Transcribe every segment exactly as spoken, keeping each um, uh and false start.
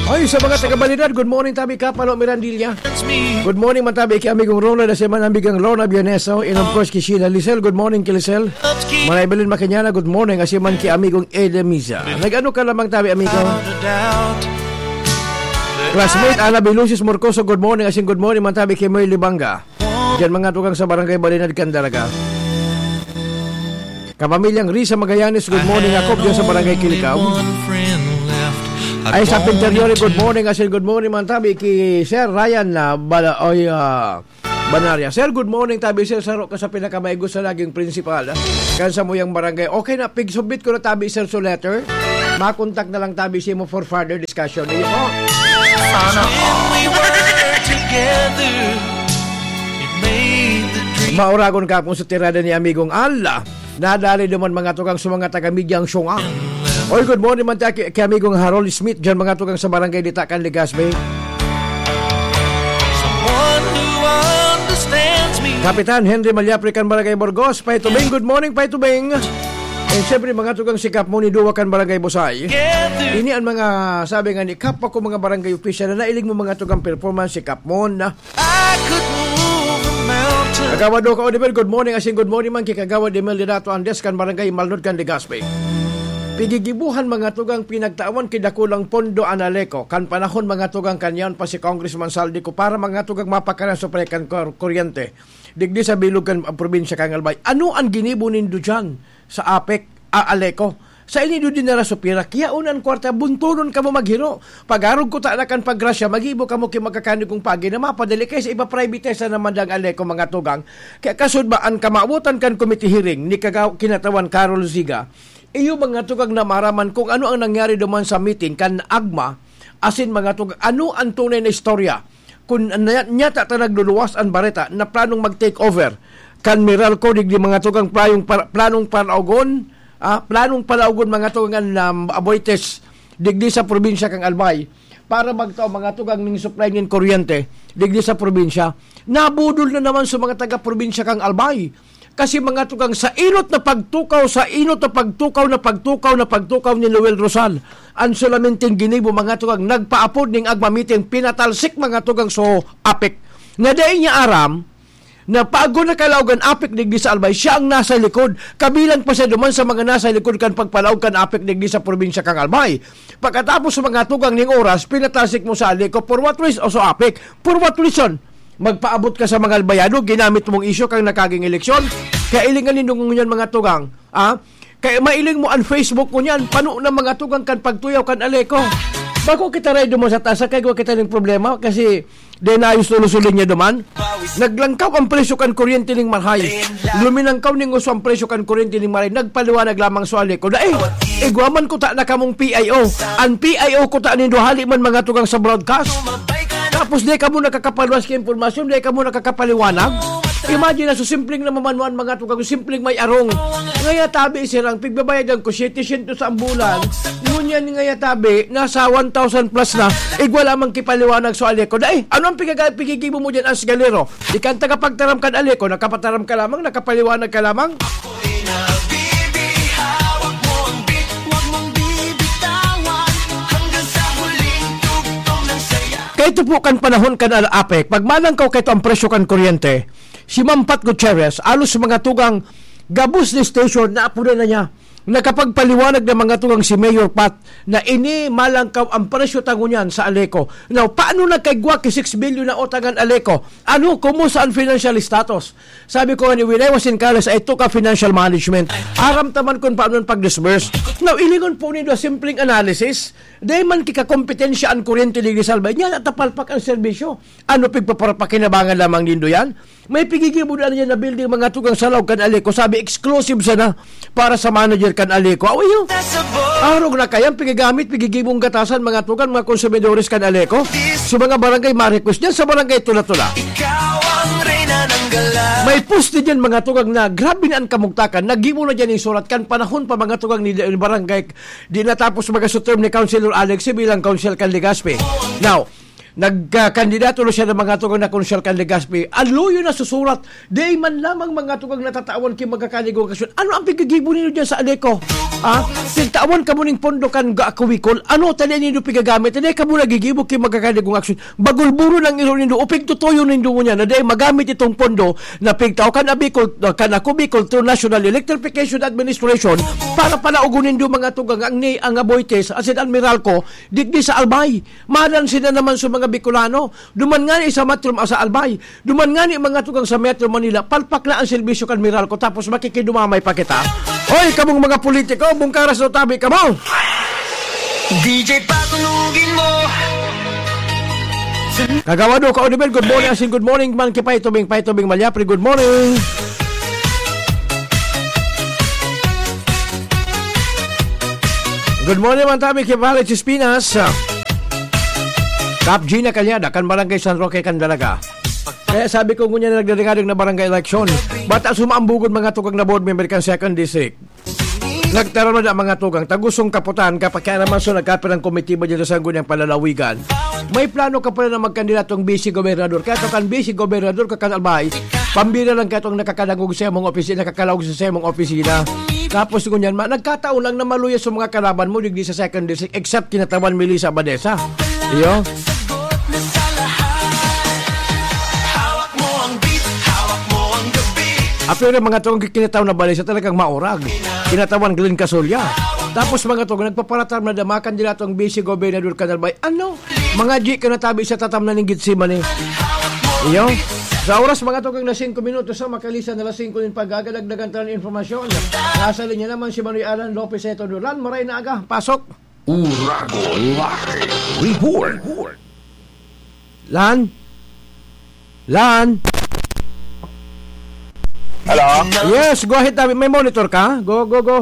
Ay, sa mga taga-Balinan, good morning, tabi ka, Palo Mirandilla. Good morning, man tabi ki amigong Ronald, sa man amigang Lorna Bioneso, and of course, ki Sheila Lisel. Good morning, ki Lisel. Manay Belen Makinyana, good morning, asin man ki amigong Edemiza. Nag-ano ka lamang, tabi, amigo? Classmate Ana Bilusis Morcoso, good morning, asin good morning, man tabi ki Moy Libanga. Diyan, mga tugang sa Barangay Balinad, Candaraga. Kapamilyang Risa Magallanes, good morning. Ako diyan sa Barangay Kilikao. Ay, sa Pinteriore, good morning. Asin, good morning, man tabi ki Sir Ryan na Bala, oy, ah, Banaria. Sir, good morning, tabi, sir. Saro ka sa pinakamaigo sa laging prinsipal, ah, kan sa muyang barangay. Okay na, pigsubmit ko na, tabi, sir, so letter. Makontak na lang, tabi, simo for further discussion. Iyo po. Sana all. When we were together, it made the dream. Mauragon ka po sa tirada ni Amigong Al. Nadali naman, mga tugang, sa mga taga-media ang syunga. Oy, good morning man tayo kay, kay Amigong Harold Smith dyan, mga tugang, sa Barangay Ditakan, Legazpi. Someone who understands me. Kapitan Henry Malyapre kan Barangay Burgos, Pay Tubing. Good morning, Pay Tubing. And syempre, mga tugang, si Kap Mon ni Duwa kan Barangay Busay. Ini ang mga sabi nga ni Kap, ako mga barangay official na nailing mo, mga tugang, performance si Kap Mon na. I could move a mountain. Kagawad Doka Oliver, good morning. Asin good morning man ki Kagawad Emil Dinato Andes kan Barangay Malnod kan Legazpi. Pigigibuhan, mga tugang, pinagtawan ki dakulang pondo an Aleco. Kan panahon, mga tugang, kanyan pa si Congressman Saldi ko para, mga tugang, mapakanan sa pre kan kur-, kuryente. Digdi sa bilog kan probinsya kan Albay. Ano ang ginibo nindo dyan sa APEC, a-, Aleco? Sa inido din na rasupira, kaya unan kwarta, bunturon kamo maghiro. Pag-arog ko ta na kan paggrasya, magibo kamo ki magkakanigong pagi na mapadali kay sa iba private sa naman dang Aleco, mga tugang. Kaya kasud ba ang kamawotan kan committee hearing ni Kagaw-, Kinatawan Carol Ziga? Iyo, mga tugang, na maraman kung ano ang nangyari duman sa meeting kan AGMA, asin mga tugang, ano ang tunay na istorya? Kun nya-, nyata ta nagluluwas an bareta na planong mag-take over kan Meralco, digdi mga tugang playong par-, planong palaugon, ah, planong palaugon mga tugang an, um, Aboitiz, digdi sa probinsya kan Albay, para magtao mga tugang ning supply nin kuryente, digdi sa probinsya. Nabudol na naman sa mga taga-probinsya kan Albay. Kasi mga tugang, sa inot na pagtukaw, sa inot na pagtukaw, na pagtukaw, na pagtukaw ni Noel Rosal, ang solamente ginibo, mga tugang, nagpaapod ning AGMA meeting, pinatalsik, mga tugang, so APEC. Na dai niya aram, na paagod na kalaog an APEC digdi sa Albay, siya ang nasa likod. Kabilang pa siya duman sa mga nasa likod kan pagpalaog kan APEC digdi sa probinsya kan Albay. Pagkatapos sa mga tugang ning oras, pinatalsik mo sa Aleco, for what reason? O sa APEC, for what reason? Magpaabot ka sa mga Albayano, ginamit mong isyu kan nagkaging eleksyon. Kaya ilingan nindo ngunyan, mga tugang, ah? Kaya mailing mo ang Facebook mo niyan, pano na, mga tugang, kan pagtuyaw kan Aleco. Bako kita ray duman sa taas, kaya kita ning problema, kasi denayos lulusulin niya duman. Naglangkaw ang presyo kan kuryente ning marhay. Luminangkaw ning uso ang presyo kan kuryente ning marhay. Nagpaliwanag lamang sa Aleco na, eh, igwa man ko ta na kamong P I O. Ang P I O ko ta nindo hali man, mga tugang, sa broadcast. Tapos di kamo nakakapaluwas ki impormasyon, di kamo nakakapaliwanag. Imagine na, so simpleng na mamanuan, mga tugang, simpleng may arong. Ngaya tabi, sirang pigbabayadan ko siyete syentos sa bulan. Ngunyan ngaya tabi, nasa one thousand plus na. Igwa lamang kipaliwanag sa Aleco. Dai, ano ang pigaga-, pigigibo mo dyan, Ans Galero? Di ka ang tagapagtaram kan Aleco, nakapataram ka lamang, nakapaliwanag ka lamang. Ako'y nabibihaw, wag mo ang bit-, wag mong bibitawan hanggang sa huling tugtong ng saya. Kaya ito po kan panahon kan APEC, pag malangkaw kayo ang presyo kan kuryente, si Ma'am Pat Gutierrez, alos mga tugang gabos ni station na apunan na niya. Nakapagpaliwanag na mga tugang si Mayor Pat na ini malangkaw ang presyo ta ngunyan sa Aleco. Now, paano nagkaigwa ki six billion na utang an Aleco? Ano, kumusta ang financial status? Sabi ko, when I was in college, I took a financial management. Aram ta man kun paano ang pag-disburse. Now, ilingon po nindo simpleng analysis. Dai man kikakompetensya ang kuryente digdi sa Albay. Nya, natapalpak ang serbisyo. Ano, pigpaparapakinabangan lamang nindo yan? May pigigibo na niya na building, mga tugang, sa laog kan Aleco. Sabi, exclusive sana para sa manager kan Aleco. Away yun. Arog na kayang pigigamit, pigigibong gatasan, mga tugang, mga konsumidores kan Aleco. Sa mga barangay, ma-request dyan sa barangay Tula-Tula. Ikaw ang reyna ng gala. May post din yan, mga tugang, na grabe na ang kamugtakan. Nagibo na dyan yung surat. Kan panahon pa, mga tugang, ni, ni barangay, di natapos mga term ni Councilor Alex bilang council kan Legazpi. Now, Nagkakandidato na siya ng mga tugang na konsyal kan Legazpi. Aluyo na susurat. Di man lamang mga tugang natatawan ki magkakaligong aksyon. Ano ang pagkagibo ninyo dyan sa Aleco? Ah, pigtawan ka mo ning pondo kan Gaako Bicol. Ano tali nindo pigagamit? Hindi ka mo nagigibo ki magkakaligong aksyon. Bagulburo ng iro nindo. O pigtutuyo nindo mo niya na di magamit itong pondo na pigtao kan Abicol, kan Ako Bicol through National Electrification Administration para palaugon nindo mga tugang ang ni ang Aboitiz, asin an Meralco, digdi sa Albay. Madan sila naman sa mga Bicolano. Duman ngani sa Metro, sa Albay. Duman ngani mga tugang sa Metro Manila. Palpak na ang serbisyo kan Meralco tapos makikidumamay pa kita. Hoy, kamong mga politiko, bungkaras o tabi kamo! D J, patunugin mo. Kagawad ko, Oliver, good morning. Asin good morning man ki Pay Tubing, Pay Tubing Malyapre, good morning. Good morning man tabi ki Valerie Chispinas. Kap Gina Calyada, kan Barangay San Roque, kan Dalaga. Kaya sabi ko, ngunyan na nagdadingadong na barangay election. Bata sumaambugod mga tugang na board member kan second district. Nagtaram na da mga tugang, tagusong kaputan, kapakiaraman so nagkapirang komitiba dyan sa Sangguniang Palalawigan. May plano ka pala na magkandidatong vice gobernador. Kaya to kan vice gobernador ka kan Albay, pambira lang ka itong nakakadangog sa imong opisina, nakakalaog sa imong opisina. Tapos ngunyan, ma, nagkataon lang na maluya sa mga kalaban mo, digdi sa second district, except kinatawan Melissa Abadesa. Iyo? Hawak mo ang beat, hawak mo ang gabi. Apiro mga tong kinataw na balay sa talagang maurag. Kinatawan Glenn Casolia. Tapos mga tong nagpaparatam na damakan nila tong vice gobernador kan Albay. Ano? Mga di ka natabi sa tatam na ning Gethsemane. Iyo? Sa oras mga tong na singko minutos sa makalisan na alas singko nin pag-aga, dagdagan tayo ng informasyon. Nasa linya naman si Manoy Alan Lopez Eto Duran. Maray na aga. Pasok! Uragon Live Report. Lan? Lan? Hello? Yes, go ahead, David. May monitor ka? Go, go, go.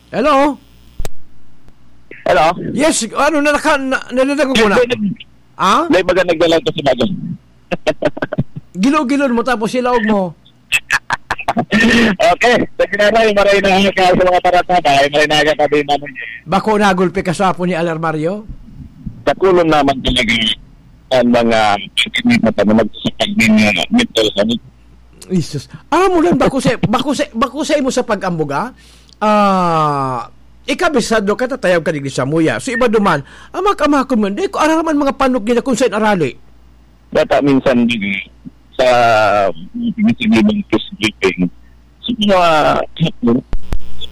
Hello? Hello? Yes, ano na, naka, na, nadadagog mo na? Hindi, nag- Ah? Hindi, baga nagdala ko sa baga. Gilo-gilon mo tapos ilaog mo. Okay, sa Ginaray, maray na aga sa mga barkada, ay maray na aga kami naman. Bako nagulpi ka sa apo ni Alarmario? Sa kulon naman talaga ang mga pagkakita na magsasakag din, uh, mental health. Jesus. Aram mo lang, bako sa, bako sa, bako sa imo sa pag-ambuga, ah, ikabisado ka, tatayab ka digdi sa muya. So, iba duman, amak-amakon man, di ko araraman mga panok nila kung saan arali. Data minsan din sa mga press briefing, sa mga hapon,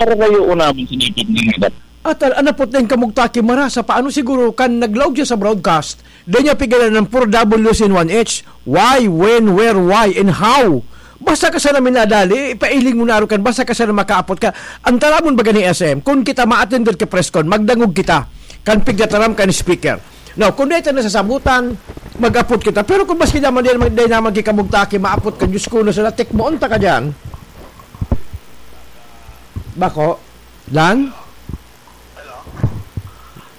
pararayo naman sa dapat na nga dapat. Atal, anapot na yung kamugtaki, marasa pa. Ano siguro, kan naglaog siya sa broadcast, dahil niya pigilan ng four W's in one H. Why, when, where, why, and how? Basta ka sana minadali, ipailing mo na kan, basta ka sana makaapot ka. Ang taramon baga ni S M, kung kita ma-attender ka press con, magdangog kita. Kan pigtataram kan speaker. Now, kung dito nasasabutan, mag-apot kita. Pero kung maski naman di naman, di naman kikamugtaki, maapot ka, Diyos ko, nasa latik mo, unta ka dyan. Bako? Lan? Hello?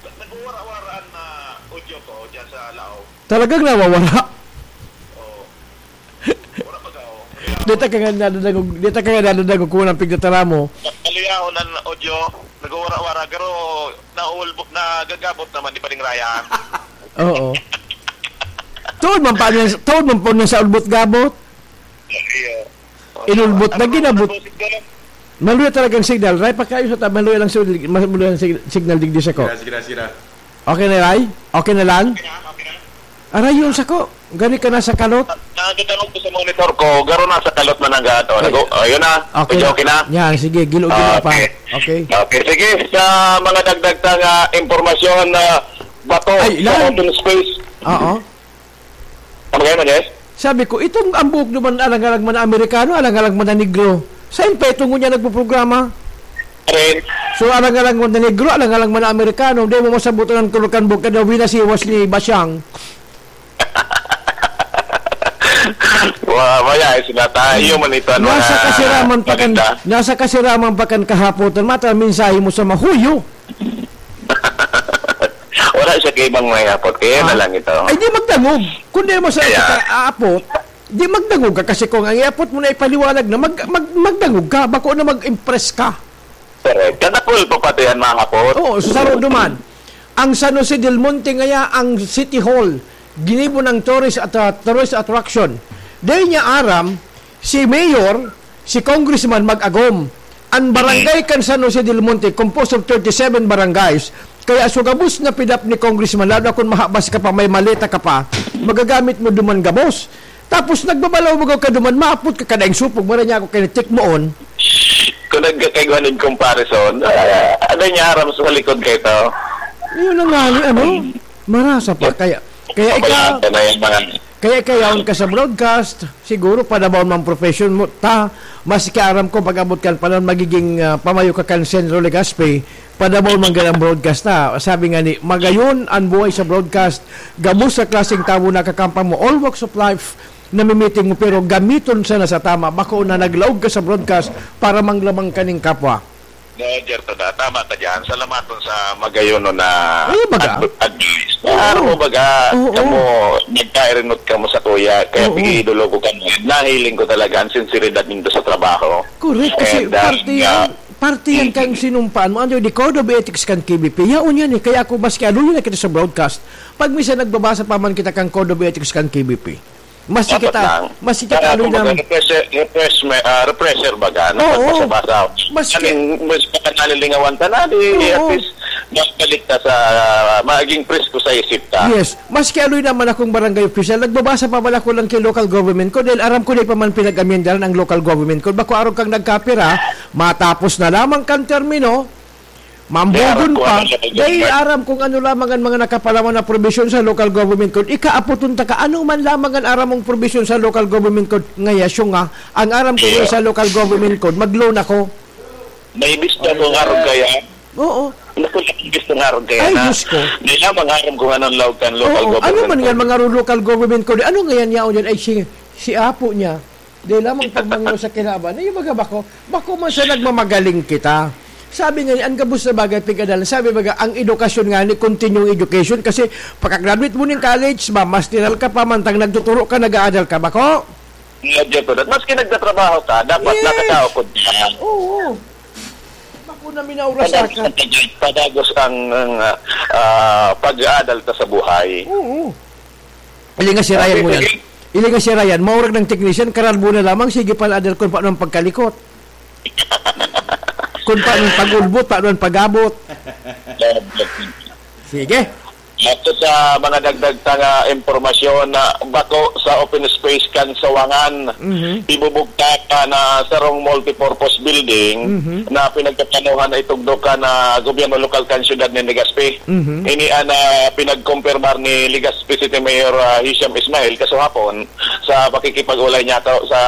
Nagwawara-waraan na audio ko dyan sa Lao. Talagang nawawara? Oo. Wala pa daw. Dita ka nga nadadagog, dita ka nga nadadagog kung anong pigtatara mo. Kaliyahon ang audio, nagwawara-wara, pero naulbo-, nagagabot naman, di pa rin raya. Oo. Tuod man pa niya, tuod man po niya sa ulbot-gabot. Iya. Inulbot na ginabot. Ano ba ang signal? Maluya talagang signal. Ray, pagkayo sa ta-, maluya lang sig-, maluya lang sig-, signal digdi sa ko. Sige, sige, sige. Okay na, Ray? Okay na lang? Okay na, okay na. Aray, yun sa ko. Gani ka na sa kalot? Na, nadadangog ko sa monitor ko, garo na sa kalot na nag-, ano, Ay. Nag-, oh, yun na. Okay Medyo na. Okay na? Yan, sige, gilo-gilo Ah, pa. Okay. Okay. Okay, sige. Sa mga dagdag ta nga impormasyon na bato Ay, sa ilan? Open space. Oo. Ano kayo, Manes? Sabi ko, itong ang buhok naman, alang-alang man na Amerikano, alang-alang man na negro. Saan pa itong ngunyan nagpuprograma? Rin. So, alang-alang man na negro, alang-alang man na Amerikano, hindi mo masabutan ang kulor kan buhok, kada winasiwas ni Basyang. Wa-, wala, eh, sila tayo, man ito, ano Nasa na, kasiraman pa kan, maganda. Nasa kasiraman pa kan kahapotan, mata, mensahe mo sa mahuyo. Wala siya kay ibang may apot. Kaya na Ah. lang ito. Ay, di magdangog. Kung di mo sa Kaya aapot, di magdangog ka. Kasi kung ang iapot mo na ipaliwanag na, mag-, mag-, magdangog ka. Bako na mag-impress ka. Correct. Kadakol pa pati yan, mga apot. Oo, so saro duman. Ang San Jose del Monte ngaya ang City Hall, ginibo ng tourist at, ah, tourist attraction. Dai niya aram, si mayor, si congressman mag-agom. Ang barangay kan San Jose del Monte, composed of thirty-seven barangays. Kaya so gabos na pidap ni congressman, lalo na kung mahabas ka pa, may maleta ka pa, magagamit mo duman gabos. Tapos nagbabalaw mo ka duman, maapot ka, kadaing supog, mara niya ako kinitik moon. Kung nagkakaigwanan comparison, ah, ano niya aram sa likod kayo to? Yun ang nga ni, ano? Marasa pa. Kaya, kaya ikaw, Wala ka na yung mga kaya ikaw yaon ka sa broadcast, siguro padabaw mang profession mo. Ta, maski aram ko, pag-abot kan panahon, magiging, ah, pamayo ka kan Centro Legazpi, padabaw man gan ang broadcast na. Sabi nga ni, magayon ang buhay sa broadcast, gabos sa klaseng tawo nakakampa mo, all walks of life, namimiting mo, pero gamiton sana sa tama. Bako na naglaog ka sa broadcast para manglamang kaning kapwa. No, Jerto da, tama ka dyan. Salamaton sa magayon no na Ay, baga? adv-, advice. Oo. Aram mo baga, Oo. kamo, nagkairinot kamo sa kuya, kaya Oo. pag-iidolo ko kamo. Nahiling ko talaga ang sinseridad nindo sa trabaho. Correct, kasi And, uh, parte yan, yeah. parte yan kang Mm. sinumpaan mo. Ano, the code of ethics kan K B P. Yaon yan eh. Kaya ako, maski aluyon na kita sa broadcast, pag minsan nagbabasa pa man kita kang code of ethics kan K B P. Maski Dapat kita, lang. maski kita Kaya aluyon kumbaga, naman. refresher, refreshme-, ah, refresher baga, na Oo. pagbasa-basa. Maski Kaning, mas makanalingawan ka na, di, Oo. at least, mas balik ka sa, maging presko sa isip ka. Yes. Maski aluyon naman akong barangay official, nagbabasa pa man ako lang kay local government ko dahil aram ko na pa man pinag-amyendahan ang local government ko. Bako arog kang nagkapira, matapos na lamang kan termino, mambogon Kaya aram ko pa. ano siya, Dahil Governor. aram kung ano lamang ang mga nakapalaman na probisyon sa local government code. Ikaaputon ta ka, ano man lamang ang aram mong probisyon sa local government code. Ngaya, siya nga, ang aram ko Iya. sa local government code, mag-loan ako. May bisto Ay, ko nga ron ay. kaya. Oo. Naku, may bisto nga ron kaya Ay, na. Diyos ko. Di na mangaram kung anong laog kan local Oo, government ano man nga code. mga ro-, local government code? Ano nga yan yaon yan? Ay, si, si apo niya. Di lamang pagmangyo sa kinaban. Ay, baga bako, bako man sa nagmamagaling kita. Sabi nga ni, ang gabos na bagay, pig-adalan. Sabi baga, ang edukasyon nga ni, continuing education. Kasi, pagka-graduate mo ng college, ba, masteral ka pa, mantang nagtuturo ka, nag-aadal ka, bako? Nga, Jeff, Maski nagtatrabaho ka, dapat Yes. nakakaukod ka. Oo. Bako na minaurasa Padagos ka. ang pag-, padagos ang, ang, ah, ah, pag-aadal ka sa buhay. Oo. Ilinga si Ryan Sabi mo ko, yan. eh. Ilinga si Ryan, maurag ng technician, karalbo na lamang, sige pala, adal kung paano ang pagkalikot. Kung paano ang pag-ulbot, paano ang pag-abot. Sige. Ato sa mga dagdag ta nga impormasyon na bako sa open space kan Sawangan, Mhm. ibubugtak na sarong multipurpose building Mhm. na pinagkaplanuhan na itugdo kan gobyerno lokal kan siyudad nin Legazpi. Mhm. Ini an, ah, pinagkumpirmar ni Legazpi City Mayor, ah, Hisham Ismail kasuhapon sa pakikipag-ulay niya to sa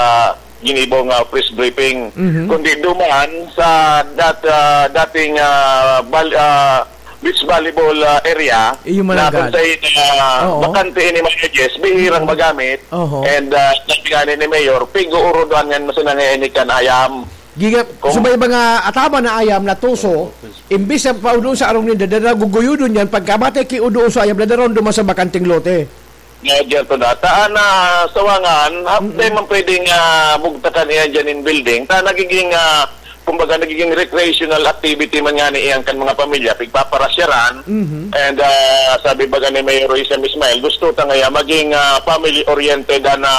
ginibong, ah, press briefing. Mhm. Kundi duman sa dat-, ah, dating, ah, bal-, ah, beach volleyball, ah, area Iyo na malagad. kung saan, ah, Oo. bakante ini mga edges, bihirang Mhm. magamit. Oho. And, ah, sabi nga ni, ni Mayor, pig-uurudoan nga mas nangyayari kan ayam. Giga, Kung subay ba nga ataman na ayam na tuso, imbis na paudoon sa arong ninda, dada guguyudon yan, pagkamatay ki udoon sa ayam, dadaron duman sa bakanting lote. Nga, Gerto, na. Ta, na, Sawangan, hapde Mm-mm. man pwedeng, ah, bugtakan iyan dyan in building. Ta, nagiging, ah, kumbaga, nagiging recreational activity man nga ni iyan kan mga pamilya, pigpaparasyaran. Mhm. And, ah, sabi baga ni Mayor Isam Ismail, gusto ta ngaya maging, ah, family-oriented na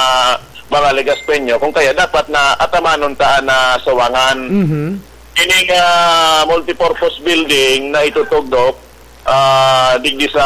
mga Legaspeño. Kung kaya, dapat na atamanon ta na Sawangan. Mhm. Ining, ah, multipurpose building na itutugdok, ah, digdi sa